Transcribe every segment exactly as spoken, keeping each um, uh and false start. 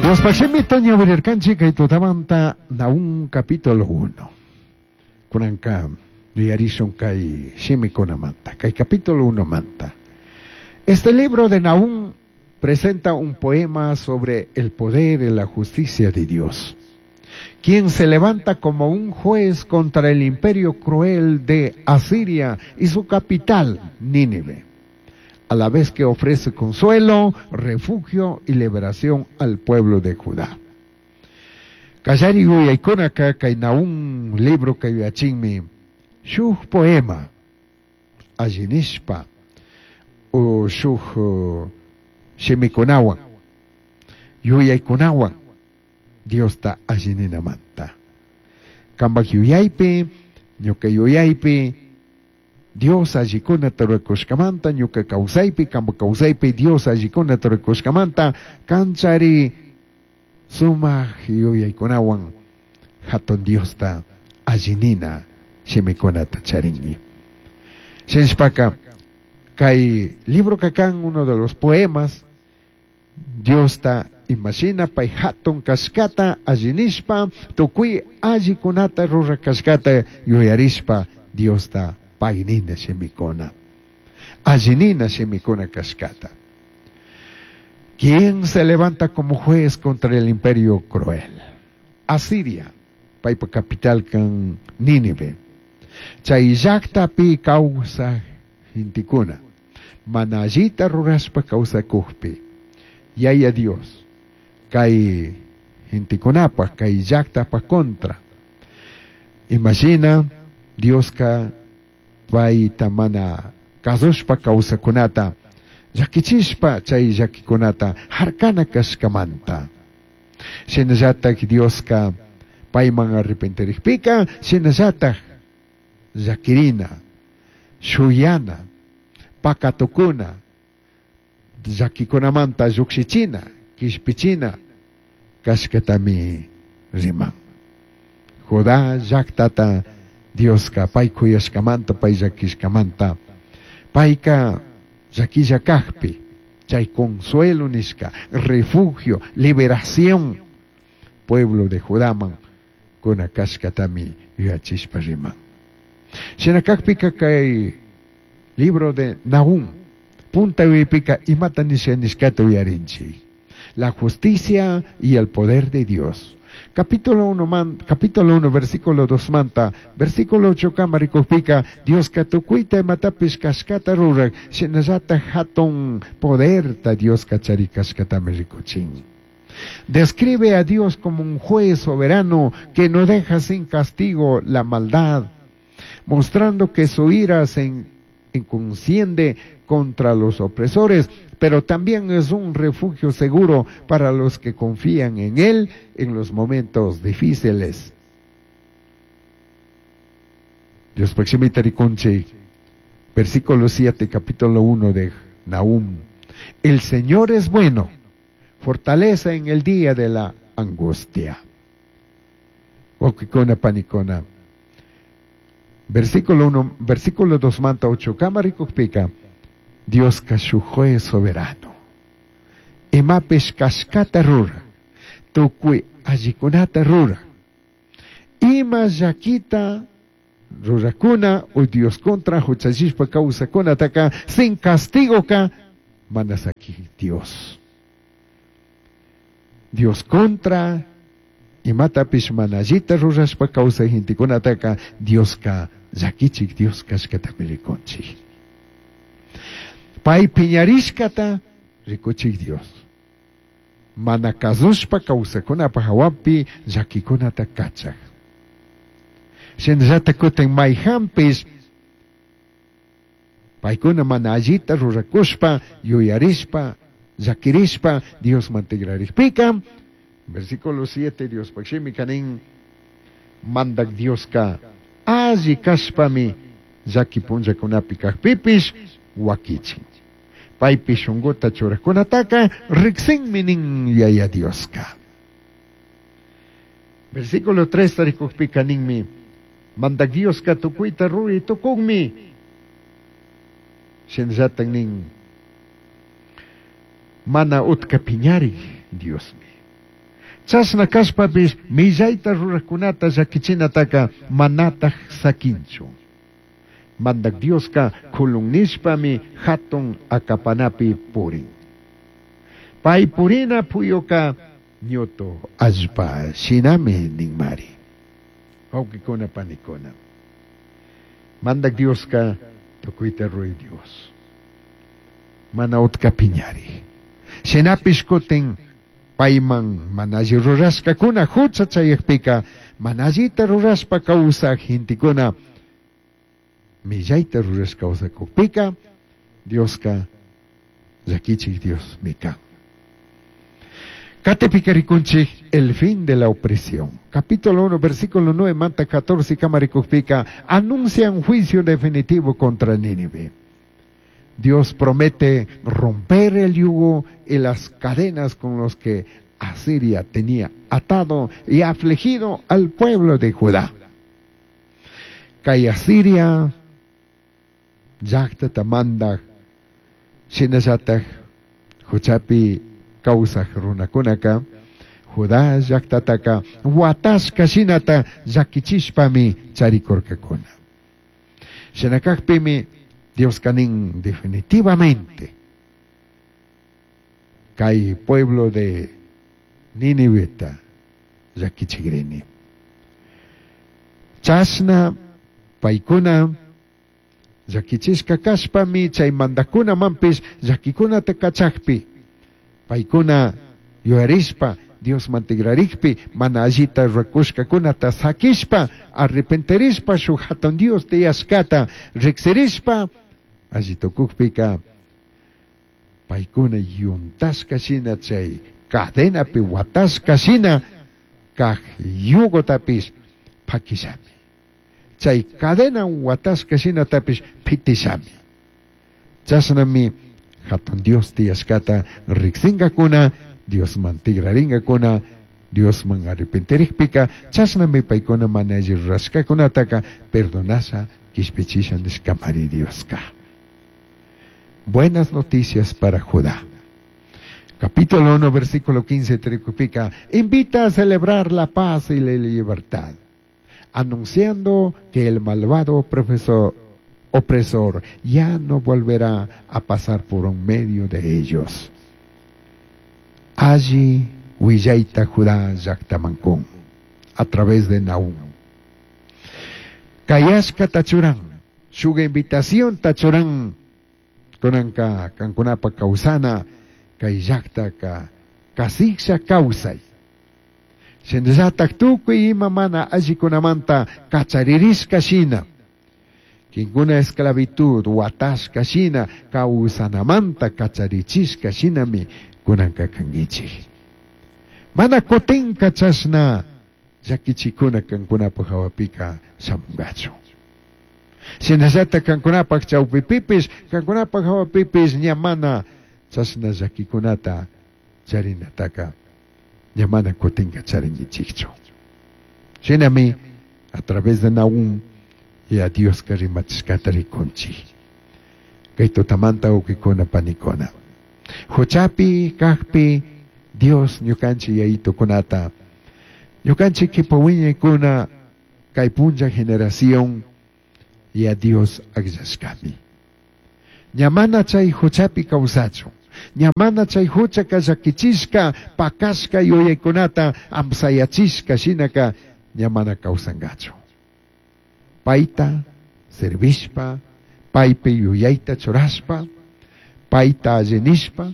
Diospaj shimita ñawirirkanchik kay tutamanta Nahum capítulo uno. Kunanka yuyarishun kay shimikunamanta, kay capítulo uno manta. Este libro de Nahum presenta un poema sobre el poder y la justicia de Dios, quien se levanta como un juez contra el imperio cruel de Asiria y su capital, Nínive, a la vez que ofrece consuelo, refugio y liberación al pueblo de Judá. Kallari yuyaykunaka kay Nahum libro kay yuyachinmi shuj poema allinishpa o shuj uh, shimikunawan yuyaykunawan Diosta allininamanta. Kambaj yuyaypi, ñuka yuyaypi, Dios allikunata rurakushkamanta, ñuka kawsaypi, kamba kawsaypi, Dios allikunata rurakushkamanta, kanchari sumaj yuyaykunawan hatun Diosta allinina shimikunata charinki. Shinashpaka, kay libro kakan uno de los poemas, Diosta imashina pay hatun kashkata allinishpa, tukuy allikunata rurakashkata yuyarishpa, Diosta paynina shimikuna, allinina shimikuna kashkata. ¿Quién se levanta como juez contra el imperio cruel? Asiria, paypa capital kan Nínive. Chay llaktapi kawsaj gentekuna, mana allita rurashpa kawsakujpi, Yaya Dios, kay gentekunapaj, kay llaktapaj contra. Imagina, Dioska payta mana kasushpa kawsakunata, llakichishpa chay llakikunata harkana kashkamanta. Shinallatak Dioska payman arrepentirikpika, shinallatak llakirina, shuyana, pakatukuna, llakikunamanta llukshichina, kishpichina, kashkatami riman. Judá llaktata Dioska pay kuyashkamanta, pay llakishkamanta, payka llakilla kajpi, chay consuelo nishka, refugio, liberación, pueblo de Judaman, kuna kashkatami yuyachishpa riman. Shina kajpika kay libro de Nahum, punta yuyaypika imata nisha nishkata uyarinchik. La justicia y el poder de Dios. Capítulo uno, man, capítulo uno, versículo dos manta, versículo ocho kama rikujpika, Dios katukuita imatapish kashkata rurak, shinallata hatun poderta Dios kachari kashkatami rikuchin. Describe a Dios como un juez soberano que no deja sin castigo la maldad, mostrando que su ira se enciende contra los opresores, pero también es un refugio seguro para los que confían en Él en los momentos difíciles. Dios proximita rikunchik, versículo siete, capítulo uno de Nahum. El Señor es bueno, fortaleza en el día de la angustia. Wawkikuna panikuna. Versículo uno, versículo dos manta ocho, kama rikukpika, Dios shuj juez soberano. Imapish kashkata rura, tukuy allikunata rura. Ima llakita rurakuna, o Dios contra huchallishpa kawsakunataka, sin castigo ka, manasaki Dios. Dios contra, imatapish mana allita rurashpa kawsaj gentekunataka, Dioska llakichik Dios kashkatami rikunchik. Pay piñarishkata rikuchik Dios. Mana kasushpa kawsakunapaj hawapi llakikunata kachaj. Shinallata kutin mayhanpish paykuna mana allita rurakushpa, yuyarishpa, llakirishpa, Diosman tigrarikpika, versículo siete, Dios shimi kanin, mandak Dioska alli kashpami llaki punllakunapi kajpipish wakichin. Paypi shunguta churajkunataka riksinmi nin Yaya Dioska. Versículo tres tarikujpika ninmi, mandak Dioska tukuyta ruri tukunmi. Shinallatan nin, mana utka piñarik Diosmi. Chashna kashpapish millayta rurajkunata llakichinataka manataj saquinchu. Mandak Dioska kulun nishpami hatun akapanapi purin. Pay purina puyuka ñutu allpa shinami ninmari. Wawqikuna panikuna. Mandak Dioska tukuyta ruray Dios. Mana utka piñari. Shinapish kutin payman mana alli rurashkakuna hucha chayakpika mana allita rurashpa kawsaj gentekuna millayta rurashka kawsakukpika Dioska llakichik Diosmi kan. Katipika rikunchik el fin de la opresión. Capítulo uno, versículo nueve, manta catorce, kamarikukpika, anuncia un juicio definitivo contra Nínive. Dios promete romper el yugo y las cadenas con los que Asiria tenía atado y afligido al pueblo de Judá. Kay Asiria llaqtata mandaj shinallataj huchapi kawsaj runakunaka Judá llaqtataka watashka shinata llakichishpami charikurkakuna. Shinakaqpimi Dios nin definitivamente kay pueblo de Niniveta llakichigrini. Chashna paykuna llakichishka kashpami chay mandakunamanpish llakikunata kachakpi paykuna yuyarishpa Diosman tigrarikpi mana allita rurakushkakunata sakishpa arrepentirishpa shuk hatun Dios tiyashkata riksirishpa alli tukukpika paykuna yuntashka shina chay cadenapi watashka shina kaq yugotapish pakishami. Chay cadena watashka shinatapish pitishami. Chashnami hatun Dios tiyashkata riksingakuna Diosman tigraringakuna Diosman arrepentirikpika chashnami paykuna mana alli rurashkakunataka perdonasha kishpichisha nishkamari Dioska. Buenas noticias para Judá. Capítulo uno, versículo quince, tricupika, invita a celebrar la paz y la libertad, anunciando que el malvado profesor, opresor ya no volverá a pasar por un medio de ellos. Allí willayta Judá llaqtamankun, a través de Nahum. Kayashka tachuran, shuga invitación tachuran, kunanka kankunapa kawsana, kay llaqtaka kasiksha kawsay. Shinallatak tukuy ima mana allikunamanta kacharirishka shina. Kinkuna esclavitud watashka shina kawsanamanta kacharichishka shinami kunanka kankichik. Mana kutinka chashna llakichikuna kankunapaj hawapika shamunkachu. Shinallatak kankunapaj chawpipipish kankunapaj hawapipish ña mana chashna llakikunata charinataka ña mana kutinka charinkichikchu. Shinami a través de Nahum y a Dios rimachishkata rikunchik. Kay tutamanta wawqikuna panikuna. Huchapi kaqpi Dios ñukanchik yayitukunata ñukanchik kipa wiñaykuna kay punlla generación y a Dios akllashkami. Ña mana chay huchapi kawsachun. Ña mana chay huchaka llakichishka pakashka yuyaykunata amsayachishka shinaka ña mana kawsankachu. Payta servishpa, paypi yuyayta churashpa, payta allinishpa,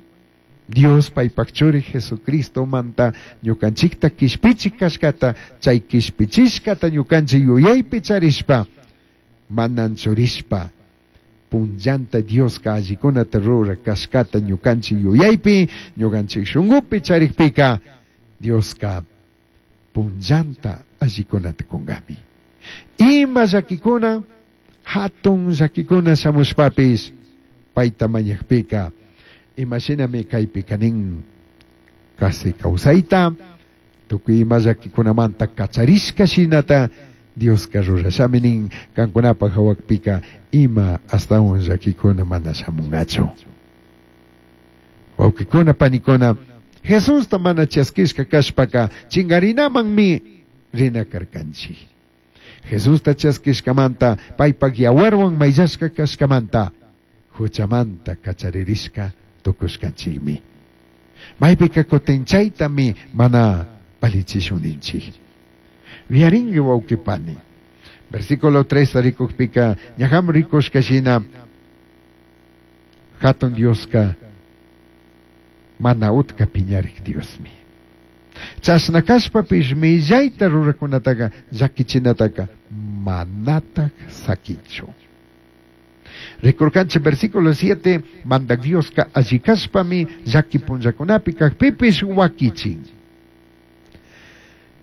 Dios paypak churi Jesucristo manta ñukanchikta kishpichik kashkata, chay kishpichishkata ñukanchik yuyaypi charishpa, manan churishpa, punllanta Dioska allikunata rura kashkata ñukanchik yuyaypi, ñukanchik shunkupi charikpika, Dioska punllanta allikunata kunkami. Ima llakikuna, hatun llakikuna shamushpapis, payta mañakpika, imashinami kaypika nin kasi kawsayta, tukuy ima llakikunamanta kacharishka shinata, Dioska rurashami nin kankunapaj hawakpika ima astawan llakikuna mana shamunkachu. Wawqikuna panikuna, Jesusta mana chaskishka kashpaka chingarinamanmi rina karkanchik. Jesusta chaskishkamanta paypak yawarwan mayllashka kashkamanta huchamanta kacharirishka tukushkanchikmi. Maypika kutin chaytami mana valichishun ninchik. Yuyarinki wawqi pani. Versículo tres rikukpika ñaham rikushka shina hatun Dioska mana utka piñarik Diosmi. Chashna kashpapish millayta rurakunataka llakichinataka manatak sakinchu. Rikurkanchik versículo siete, mandak Dioska alli kashpami llaki punllakunapi kakpipish wakichin.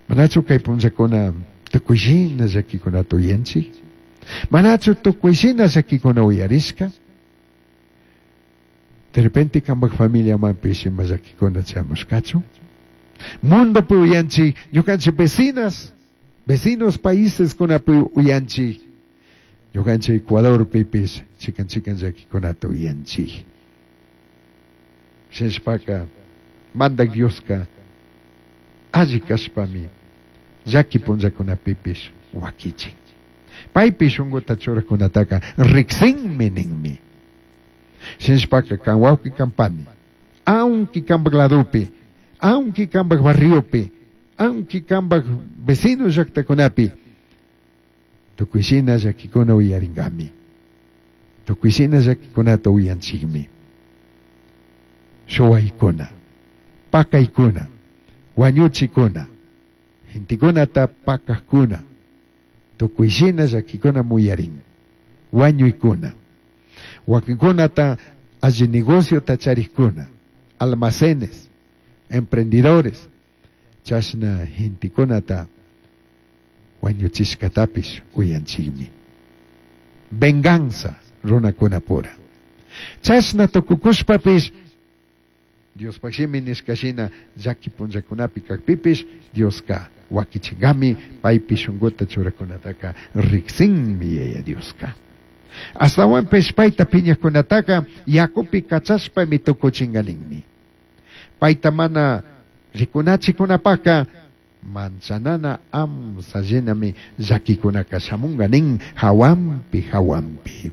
Manachu kay punllakuna tukuyshina llakikunata uyanchik? Manachu tukuyshina llakikuna uyarishka? De repente kambak familiamanpish ima llakikuna chamushkachu? Mundopi uyanchik, ñukanchik vecinas, vecinos países kunapi uyanchik, ñukanchik Ecuadorpipish chikan chikan llakikunata uyanchik. Shinashpaka mandak Dioska alli kashpami llaki punllakunapipish wakichin. Paypi shunkuta churakunataka riksinmi ninmi. Shinashpaka kan wawqi kan pani, aunque kambak ladopi, aunque kambak barriopi, aunque kambak vecino llaktakunapi, tukuyshina llakikuna uyarinkami. Tukuyshina llakikunata uyanchikmi. Shuwaykuna, pakaykuna, wañuchikuna, gentekunata pakajkuna, tukuyshina llakikuna muyarin, wañuykuna, wakinkunata alli negociota charikuna, almacenes, emprendedores, chashna gentekunata wañuchishkatapish uyanchikmi. Venganza runakunapura. Chashna tukukushpapish Diospaq shimi nishkashina llaki punllakunapi kakpipish Dioska wakichinkami paypi shunkuta churakunataka riksinmi Yaya Dioska. Ashtawanpish payta piñakunataka yakupi kachashpami tukuchinkaninmi. Payta mana rikunachikunapaka manchanana amsa llenami llakikunaka shamunga nin hawanpi hawanpi.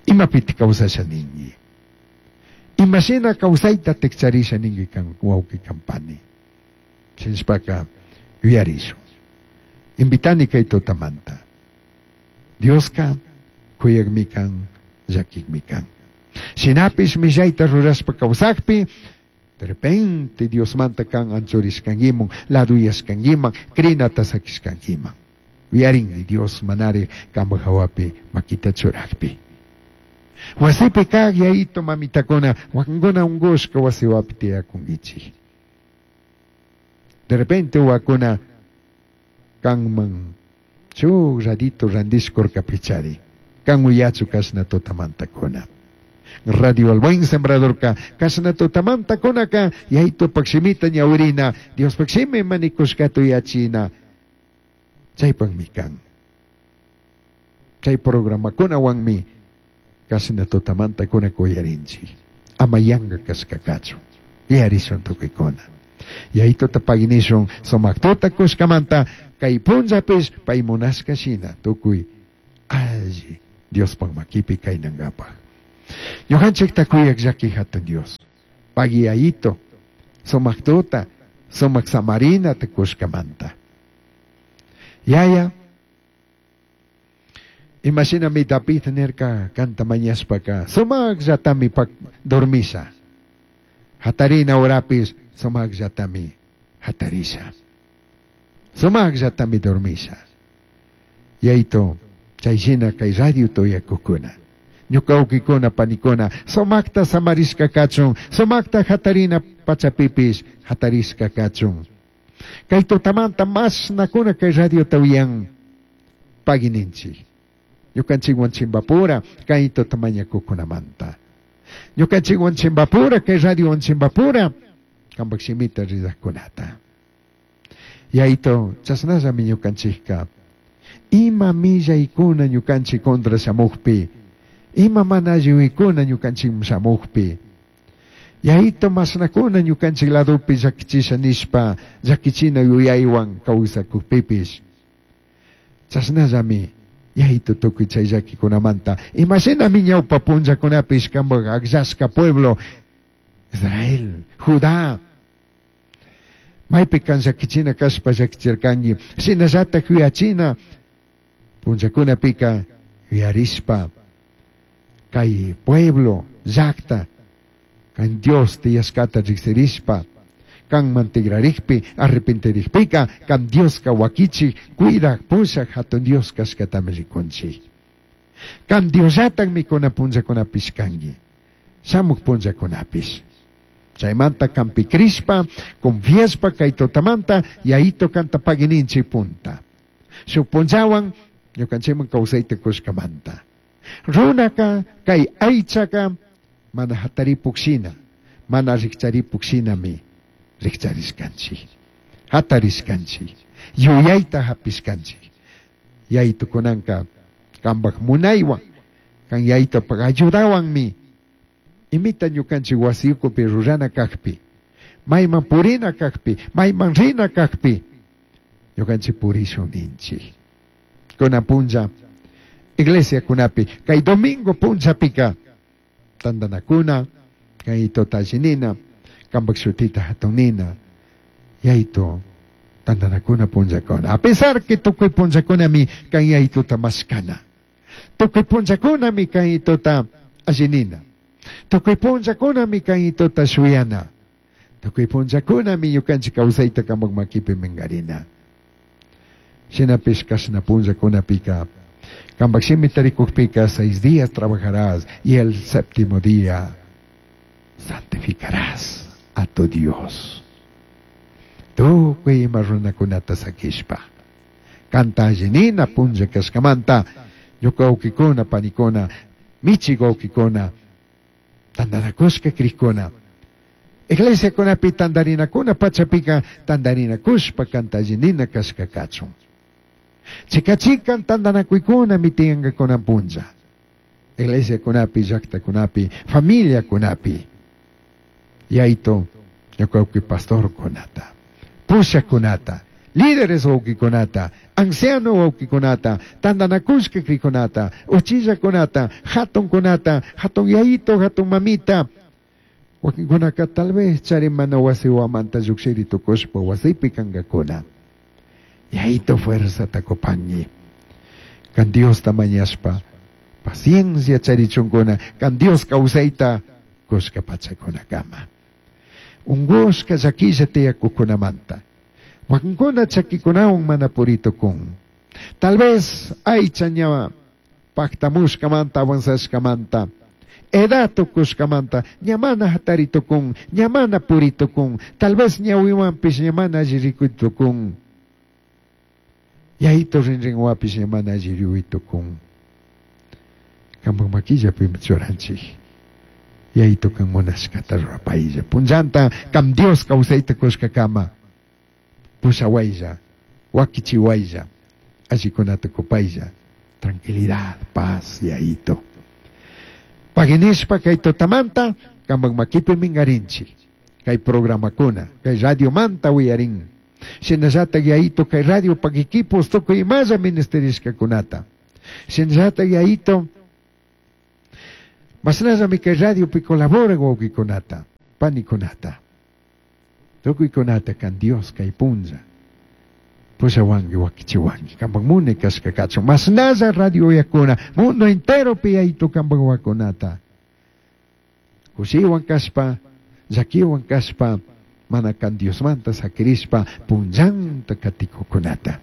Imapiti kawsasha ninki. Imashina kawsayta tikcharisha ninki kan wawqi kan pani. Shinashpaka yuyarishun. Invitani kay tutamanta. Dioska kuyakmi kan, llakikmi kan. Shinapish millayta rurashpa kawsakpi, de repente Diosmanta kan anchurishkankiman, laduyashkankiman, crinata sakishkankiman. Yuyarinki Dios manari kampak hawapi makita churakpi. Wasipi kak yayito mamitakuna, wakinkuna unkushka wasiwapi tiyakunkichik. De repente wakuna kanman shuk radito randishkurkapichari. Kan uyachu kashna tutamantakuna. Radio El Buen Sembradorka kashna tutamantakunaka yayitupak shimita ñawirina, Diospak shimi manikushkata uyachina. Chaypakmi kan. Chay programakunawanmi kashna tutamantakuna kuyarinchik. Ama yanka kashkakachu. Yuyarishun tukuykuna. Yayituta paginishun sumak tuta kushkamanta kay punllapish pay munashka shina tukuy alli Diospak makipi kaynankapaq. Ñukanchikta kuyak llaki hatun Dios. Pagui yayito, sumak tuta, sumak samarina kushkamanta. Yaya, imashinami David nirka kanta mañashpaka, sumakllatami pak dormisha. Hatarina horapis sumakllatami hatarisha. Sumakllatami dormisha. Yayito, chayshina kay radio tuyakukuna. Ñuka wawkikuna panikuna, sumakta samarishka kachun, sumakta hatarina pachapipish hatarishka kachun. Kay tutamanta mashnakuna kay radiota uyan pagininchik. Ñukanchikwan chimbapura kay tutamañakukunamanta. Ñukanchikwan chimbapura kay radiowan chimbapura kampak shimita ridajkunata. Yayito, chashnallami ñukanchikka ima millaykuna ñukanchik contra shamukpi, ima mana alliwikuna ñukanchik shamukpi, Yaito mashnakuna ñukanchik ladopi llakichisha nishpa llakichina yuyaywan kawsakukpipish. Chashnallami yaito tukuy chay llakikunamanta imashinami ñawpa punllakunapish kanpak akllashka pueblo Israel, Judá. Maypi kan llakichina kashpa llakichirkanki shinallatak yuyachina punllakunapika yuyarishpa kay pueblo llakta kan Dios tiyashkata riksirishpa kanman tigrarikpi arrepentirikpika kan Dioska wakichik cuidak pushak hatun Dios kashkatami rikunchik. Kan Diosllatak mikuna punllakunapish kanki shamuk punllakunapish. Chaymanta kanpi krishpa confiashpa kay tutamanta yayito kanta pagininchik punta. Shuk punllawan ñukanchikman kawsayta kushkamanta. Runaka kay aychaka mana hataripuk shina, mana rikcharipuk shinami rikcharishkanchik, hatarishkanchik, yuyayta hapishkanchik. Yayto kunanka kanpak munaywan, kan yaytopak ayudawanmi imita ñukanchik wasi ukupi rurana kakpi, mayman purina kakpi, mayman rina kakpi, ñukanchik purishun ninchik. Kunan punlla iglesia kunapi, kay domingo punllapika tandanakuna, kay totallinina, kanpak shutita hatunina, yayto tandanakuna punllakuna. A pesar que tukuy punllakunami kan yaytuta mashkana, tukuy punllakunami kan yaytuta allinina, tukuy punllakunami kan yaytuta shuyana, tukuy punllakunami ñukanchik kawsayta kanpak makipi minkarina. Shinapish kashna punllakunapika kanpak shimi tarikukpika seis días trabajarás y el séptimo día santificarás a tu Dios. Tukuy ima runakunata sakishpa kanta allinina punlla kashkamanta ñuka wawkikuna panikuna michik wawkikuna tantanakushka krikuna iglesiakunapi tantarinakuna pachapika tantarinakushpa kanta allinina kashka kachun. Chika chikan tantanakuykuna mitiyankakuna punlla iglesiakunapi llaktakunapi familiakunapi yayto ñuka wawki pastorkunata pushakunata líderes wawkikunata anciano wawkikunata tantanakushka krikunata uchillakunata hatunkunata hatun yayito hatun mamita wakinkunaka tal vez chari mana wasi wamanta llukshiri tukushpa wasipi kankakuna. Yayito fuerza kupangi kan Diosta mañashpa paciencia charichunkuna kan Dios kawsayta kushka pachakunakama. Ungushka llakilla tiyakukunamanta wakinkuna chakikunawan mana puritukun. Tal vez aycha ña paktamushkamanta avanzashkamanta edad tukushkamanta ña mana hataritukun ña mana puritukun tal vez ñawiwanpish ña mana alli rikuytukun. Yayito rinrinwapish ña mana alli rikuytukun. Kanpak makillapimi churanchik. Yayito kan munashkata rurapaylla punllanta kam Dios kawsayta kushkakama pushawaylla wakichiwaylla allikunata kupaylla tranquilidad, paz, yayito. Paginishpa kay tutamanta kanpak makipi minkarinchik kay programakuna kay radiomanta wiyarin. Shinallatak yayito kay radio pak equipos tukuy imalla ministerishkakunata. Shinallatak yayito mashnallami kay radiopi colaboran wawkikunata panikunata tukuykunata kan Dios kay punlla pushawanki wakichiwanki kanpak munay kashka kachun mashnalla radio uyakuna mundo enteropi yayito kanpak wawakunata kushiwan kashpa llakiwan kashpa mana kan Diosmanta sakirishpa punllanta katikukunata.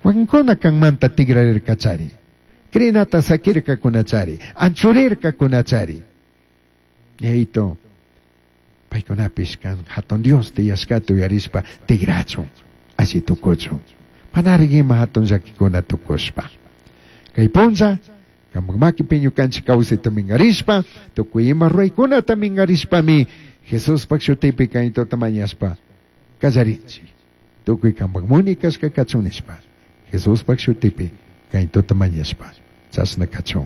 Wakinkuna kanmanta tigrarirkachari krinata sakirkakunachari anchurirkakunachari. Yayito paykunapish kan hatun Dios tiyashkata uyarishpa tigrachun alli tukuchun manari ima hatun llakikuna tukushpa. Kay punlla kanpak makipi ñukanchik kawsayta minkarishpa tukuy ima ruraykunata minkarishpami Jesuspak shutipi kaytota mañashpa kallarinchik tukuy kanpak muni kashka kachun nishpa Jesuspak shutipi kaytota mañashpa chashna kachun.